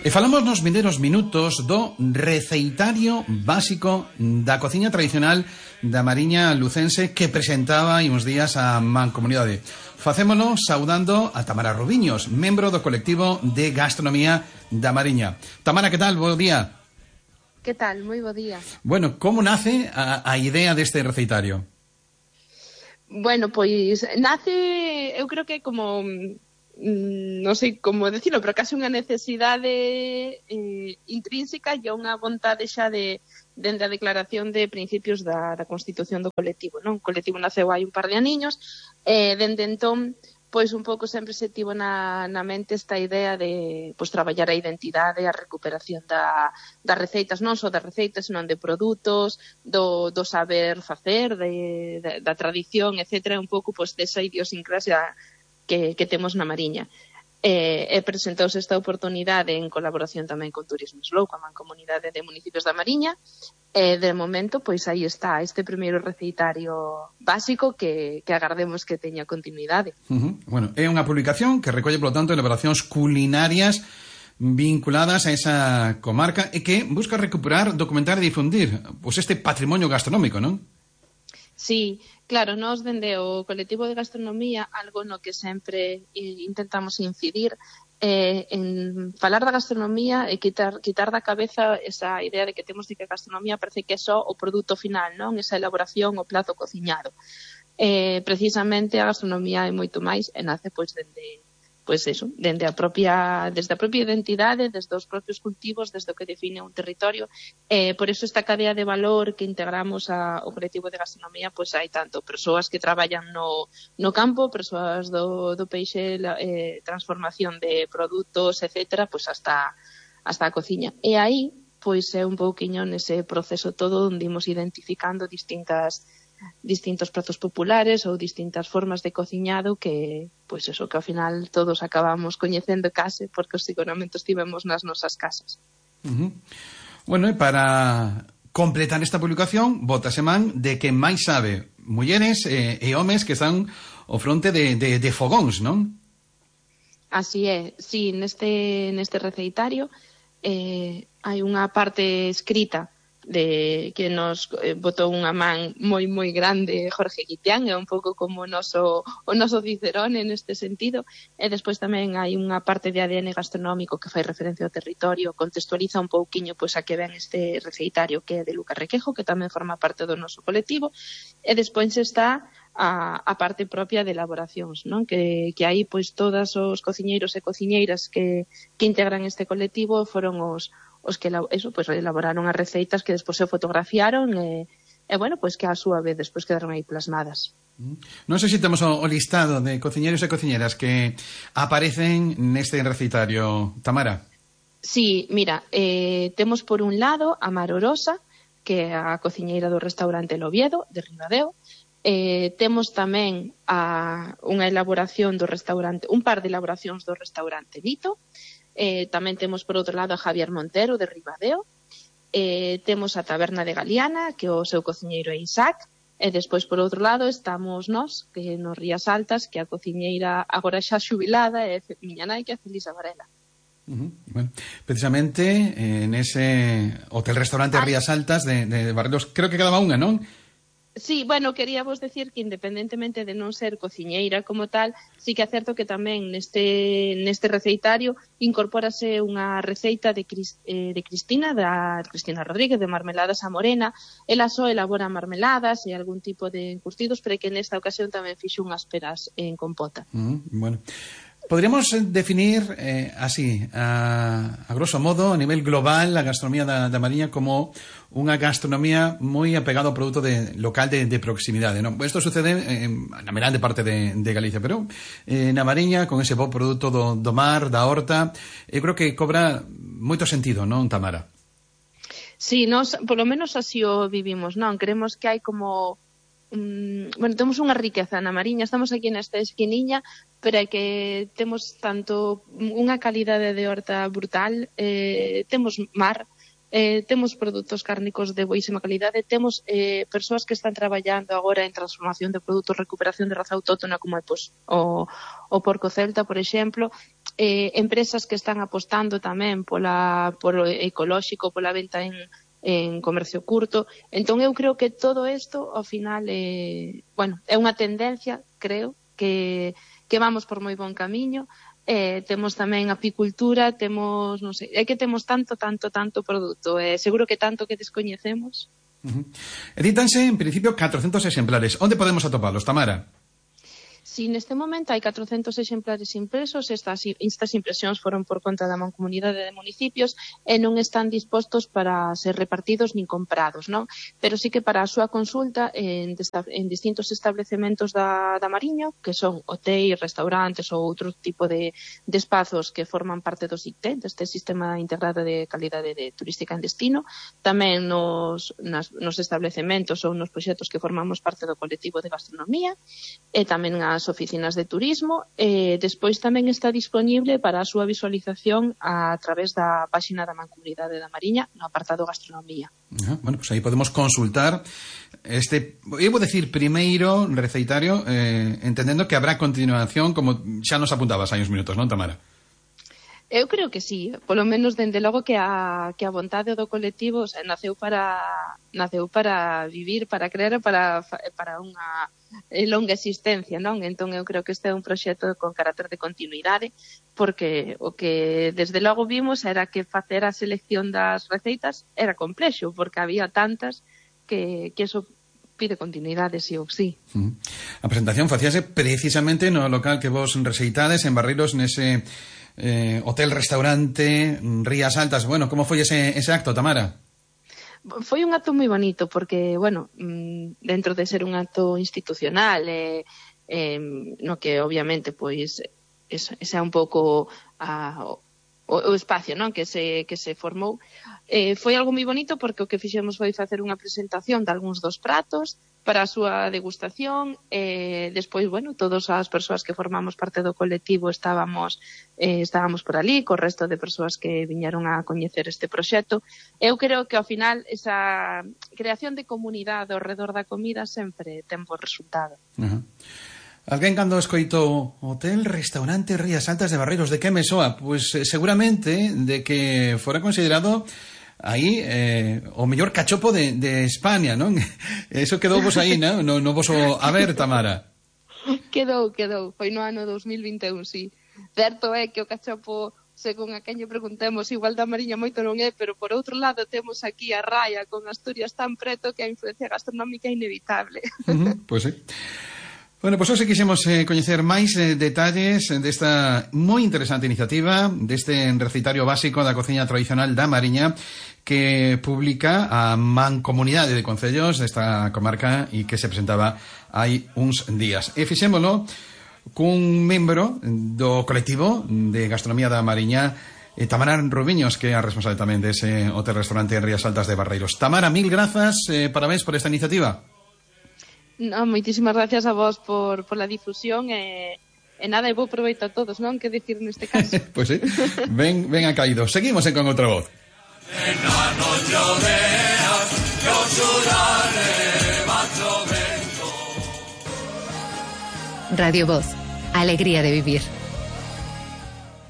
E falamos nos vindeiros minutos do receitario básico da cociña tradicional da Mariña lucense que presentaba hai uns días a Mancomunidade. Facémolo saudando a Tamara Rubiños, membro do colectivo de gastronomía da Mariña. Tamara, que tal? Bo día. Que tal? Moi bo día. Bueno, como nace a idea deste receitario? Bueno, pois nace, eu creo que como non sei como decirlo, pero case unha necesidade intrínseca e unha vontade xa dende a declaración de principios da Constitución do colectivo, non? O colectivo naceu hai un par de aniños e dende entón pois un pouco sempre se tivo na mente esta idea de pois traballar a identidade, a recuperación das receitas, non só das receitas, senón de produtos, do saber facer, da tradición, etcétera, un pouco pois desa idiosincrasia que temos na Mariña. E presentouse esta oportunidade en colaboración tamén con Turismo Slow, coa Mancomunidade de Municipios da Mariña, e de momento, pois aí está este primeiro receitario básico que agardemos que teña continuidade. Bueno, é unha publicación que recolle, polo tanto, elaboracións culinarias vinculadas a esa comarca e que busca recuperar, documentar e difundir pois este patrimonio gastronómico, non? Sí, claro, nós dende o colectivo de gastronomía algo no que sempre intentamos incidir en falar da gastronomía e quitar da cabeza esa idea de que temos de que a gastronomía parece que é só o produto final, non? Esa elaboración, o plato cociñado. Precisamente a gastronomía é moito máis e nace pois desde a propia identidade, desde os propios cultivos, desde o que define un territorio. Por eso esta cadea de valor que integramos ao colectivo de gastronomía, pois hai tanto persoas que traballan no campo, persoas do peixe, transformación de produtos, etcétera, pois hasta a cociña. E aí, pois é un pouquiño nese proceso todo onde imos identificando distintos pratos populares ou distintas formas de cociñado que, pois eso, que ao final todos acabamos coñecendo case porque os seguramente estivemos nas nosas casas. Bueno, e para completar esta publicación, bótase man de que máis sabe mulleres e homes que están ao fronte de fogóns, non? Así é, sí, neste receitario hai unha parte escrita que nos botou unha man moi grande Jorge Guitián, é un pouco como o noso Cicerone neste sentido, e despois tamén hai unha parte de ADN gastronómico que fai referencia ao territorio, contextualiza un pouquiño pois a que ven este receitario que é de Lucas Requejo, que tamén forma parte do noso colectivo, e despois está a parte propia de elaboracións, non? Que aí pois todos os cociñeiros e cociñeiras que integran este colectivo foron os que elaboraron as receitas que despois se fotografiaron e bueno, pois que a súa vez despois quedaron aí plasmadas. Non sei se temos o listado de cociñeiros e cociñeras que aparecen neste receitario, Tamara. Sí, mira, temos por un lado a Mar Orosa, que é a cociñeira do restaurante El Oviedo, de Ribadeo. Temos tamén unha elaboración do restaurante, un par de elaboracións do restaurante Vito. Tamén temos por outro lado a Javier Montero de Ribadeo, temos a Taberna de Galiana, que o seu cociñeiro é Isaac, e despois por outro lado estamos nós, que nos Rías Altas, que a cociñeira agora xa xubilada é miña nai, que é Felisa Varela. Bueno, precisamente nese hotel-restaurante Rías Altas de Barrelos, creo que quedaba unha, non? Sí, bueno, quería vos decir que independentemente de non ser cociñeira como tal, sí que é certo que tamén neste receitario incorpórase unha receita de Cristina Rodríguez, de Marmeladas a Morena. Ela só elabora marmeladas e algún tipo de encurtidos, pero que nesta ocasión tamén fixo unhas peras en compota. Bueno, podríamos definir así, a grosso modo, a nivel global, a gastronomía da Mariña como unha gastronomía moi apegada ao produto local de proximidade, non? Isto sucede na grande parte de Galicia, pero na Mariña, con ese bo produto do mar, da horta, eu creo que cobra moito sentido, non, Tamara? Sí, nós, polo menos así o vivimos, non? Creemos que hai como bueno, temos unha riqueza na Mariña, estamos aquí nesta esquiniña, pero é que temos tanto unha calidade de horta brutal, temos mar, temos produtos cárnicos de boísima calidade, temos persoas que están traballando agora en transformación de produtos, recuperación de raza autóctona, como é pois, o porco celta, por exemplo, empresas que están apostando tamén por o ecolóxico, pola venta en comercio curto. Entón eu creo que todo isto ao final é unha tendencia, creo, que vamos por moi bon camiño. Temos tamén apicultura, temos, non sei, é que temos tanto produto, seguro que tanto que descoñecemos. Edítanse, en principio, 400 exemplares. Onde podemos atopalos, Tamara? Si neste momento hai 400 exemplares impresos, estas impresións foron por conta da Mancomunidade de Municipios e non están dispostos para ser repartidos nin comprados, non? Pero sí que para a súa consulta en distintos establecementos da Mariña, que son hotéis, restaurantes ou outro tipo de espazos que forman parte do SICTE, deste Sistema Integrado de Calidade Turística en Destino, tamén nos establecementos ou nos proxectos que formamos parte do colectivo de gastronomía, e tamén as oficinas de turismo, e despois tamén está disponible para a súa visualización a través da páxina da Mancomunidade da Mariña no apartado gastronomía. Bueno, pues aí podemos consultar este, eu vou decir, primeiro receitario, entendendo que habrá continuación, como xa nos apuntabas hai uns minutos, non, Tamara? Eu creo que sí, polo menos dende logo que a vontade do colectivo naceu para vivir, para crear, para unha longa existencia, non? Entón eu creo que este é un proxecto con carácter de continuidade, porque o que desde logo vimos era que facer a selección das receitas era complexo, porque había tantas que eso pide continuidade, sí ou sí. A presentación facíase precisamente no local que vos receitades en Barreiros, nese hotel-restaurante Rías Altas. Bueno, como foi ese acto, Tamara? Foi un acto moi bonito porque, dentro de ser un acto institucional, no que obviamente pois ese é un pouco o espacio, non, que se formou, foi algo moi bonito porque o que fixemos foi facer unha presentación de algúns dos pratos para a súa degustación, despois, todas as persoas que formamos parte do colectivo estábamos por ali, co resto de persoas que viñeron a coñecer este proxecto. Eu creo que ao final esa creación de comunidade ao redor da comida sempre ten bo resultado. Alguén cando escoitou Hotel Restaurante Rías Altas de Barreiros, de que me soa? Pois seguramente de que fora considerado aí o mellor cachopo de España, non? Eso quedou vos aí, non? No voso haber, Tamara. Quedou, foi no ano 2021, sí. Certo é que o cachopo, según a quen lle preguntemos, igual da Mariña moito non é, pero por outro lado temos aquí a raia con Asturias tan preto que a influencia gastronómica é inevitable. Pois sí. Bueno, pois hoxe quixemos coñecer máis detalles desta moi interesante iniciativa, deste recitario básico da cociña tradicional da Mariña, que publica a Mancomunidade de Concellos desta comarca e que se presentaba hai uns días. E fixémolo cun membro do colectivo de gastronomía da Mariña, Tamara Rubiños, que é a responsable tamén dese hotel-restaurante en Rías Altas de Barreiros. Tamara, mil grazas, parabéns por esta iniciativa. No, moitísimas gracias a vos por la difusión e nada, e bo proveito a todos, non? Que dicir neste caso? Pois sí, ben acaído. Seguimos Con Outra Voz. Radio Voz, alegría de vivir.